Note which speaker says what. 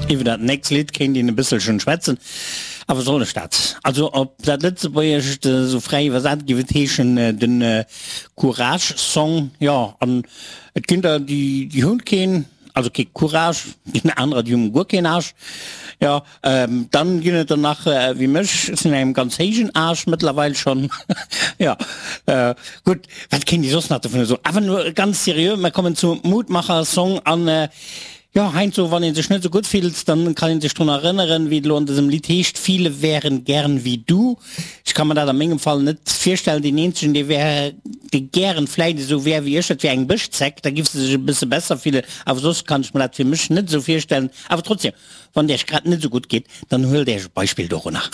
Speaker 1: Iwwer dat nächst Lidd kéint een e bësselchen schwätzen, awer soll ech dat? Also op dat Lëtzebuergescht esou fräi iwwersat géif et heeschen den Courage Song, jo, an et ginn der déi déi hunn keen, also kee Courage, ginn anerer déi hunn guer keen Age, jo. Dann ginn et der nach wéi mech, ech sinn an engem ganz héijen Age mëttlerweil schonn, jo. Gutt, wat kéint ee soss nach dovunner soen? Awer elo ganz seriö, mer kommen zum Mutmacher-Song an jo, heiansdo wann ee sech net esou gutt fillt, dann kann ee sech drun erënneren, wéi et elo an dësem Lidd heescht, Viele wären gern wie du. Ech ka mer dat a mengem Fall net virstellen. Deen eenzegen, dee wär, dee gären vläit esou wär wéi ech, dat wär eng Bëschzeck, da giff se sech e bësse besser fillen, awer soss kann ech mer dat fir mech net esou virstellen. Awer trotzdem, Wann et Iech grad net esou gutt geet, dann huelt Iech e Beispill dorunner.